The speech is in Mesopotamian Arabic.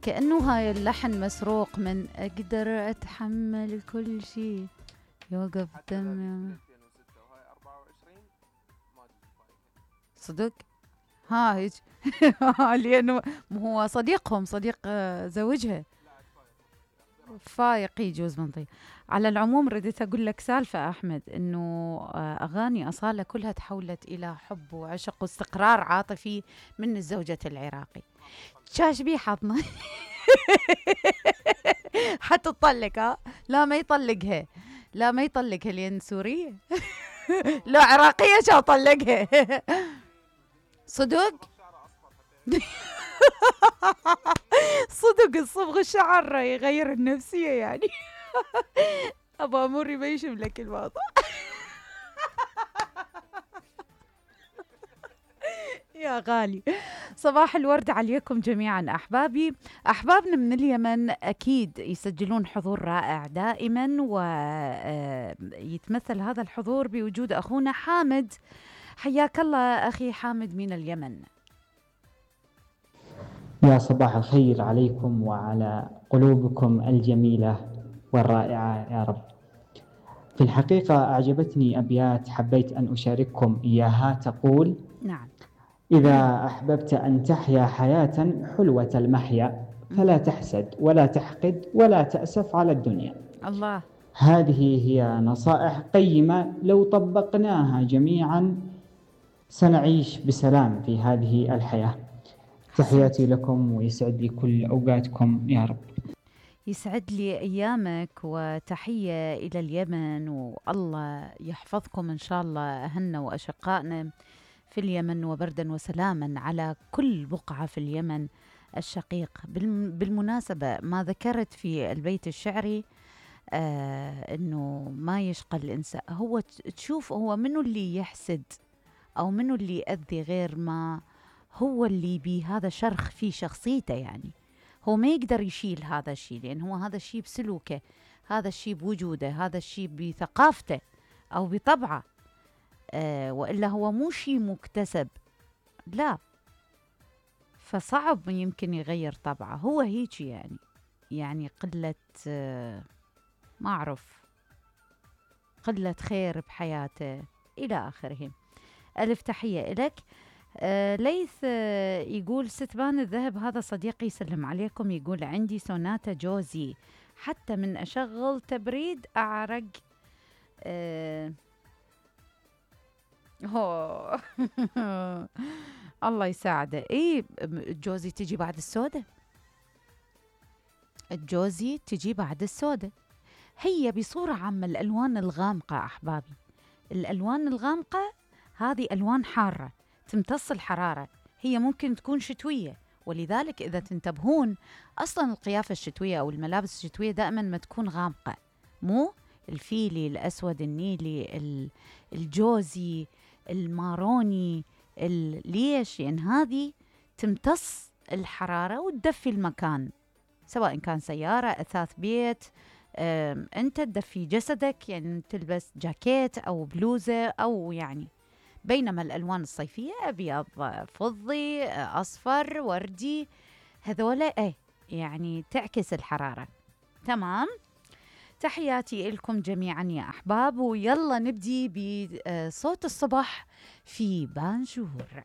كأنه هاي اللحن مسروق من أقدر أتحمل كل شيء يوقف دم. صدق ها هيك لأنه هو صديقهم، صديق زوجها فايق يجوز منطي. على العموم رديت أقول لك سالفة أحمد، إنه أغاني أصالة كلها تحولت إلى حب وعشق واستقرار عاطفي من الزوجة العراقي. شاش بيه حاطنا حتى تطلق. لا ما يطلقها، لا ما يطلقها لأن سورية لا عراقية شا طلقها صدق صدق الصبغ الشعر يغير النفسية يعني أبا أموري ما يشملك الموضوع يا غالي. صباح الورد عليكم جميعا أحبابي. أحبابنا من اليمن أكيد يسجلون حضور رائع دائما، ويتمثل هذا الحضور بوجود أخونا حامد. حياك الله أخي حامد من اليمن. يا صباح الخير عليكم وعلى قلوبكم الجميلة والرائعة يا رب. في الحقيقة أعجبتني أبيات حبيت أن أشارككم إياها، تقول: نعم. إذا أحببت أن تحيا حياة حلوة المحيا فلا تحسد ولا تحقد ولا تأسف على الدنيا. الله. هذه هي نصائح قيمة لو طبقناها جميعا سنعيش بسلام في هذه الحياة. تحياتي لكم ويسعد لي كل أوقاتكم يا رب. يسعد لي أيامك، وتحية إلى اليمن، والله يحفظكم إن شاء الله أهلنا وأشقائنا في اليمن، وبردا وسلاما على كل بقعة في اليمن الشقيق. بالمناسبة ما ذكرت في البيت الشعري إنه ما يشقى الإنسان، هو تشوف هو منو اللي يحسد أو منو اللي يأذي غير ما هو اللي بهذا شرخ في شخصيته، يعني هو ما يقدر يشيل هذا الشيء لأن هو هذا الشيء بسلوكه، هذا الشيء بوجوده، هذا الشيء بثقافته أو بطبعه. وإلا هو مو شيء مكتسب، لا، فصعب يمكن يغير طبعه، هو هيك يعني قلة ما أعرف، قلة خير بحياته إلى آخره. ألف تحية إلك. ليث يقول: ستبان الذهب هذا صديقي يسلم عليكم، يقول: عندي سوناتا جوزي حتى من أشغل تبريد أعرق. الله يساعده. إيه الجوزي تجي بعد السودة، الجوزي تجي بعد السودة. هي بصورة عامة الألوان الغامقة أحبابي، الألوان الغامقة هذه ألوان حارة تمتص الحرارة، هي ممكن تكون شتوية، ولذلك إذا تنتبهون أصلا القيافة الشتوية أو الملابس الشتوية دائما ما تكون غامقة، مو الفيلي، الأسود، النيلي، الجوزي، الماروني، ليش؟ يعني هذه تمتص الحرارة وتدفي المكان، سواء كان سيارة، أثاث بيت، أنت تدفي جسدك، يعني تلبس جاكيت أو بلوزة أو يعني. بينما الألوان الصيفية أبيض، فضي، أصفر، وردي، هذولا يعني تعكس الحرارة. تمام. تحياتي لكم جميعا يا أحباب، ويلا نبدي بصوت الصبح في بانجور.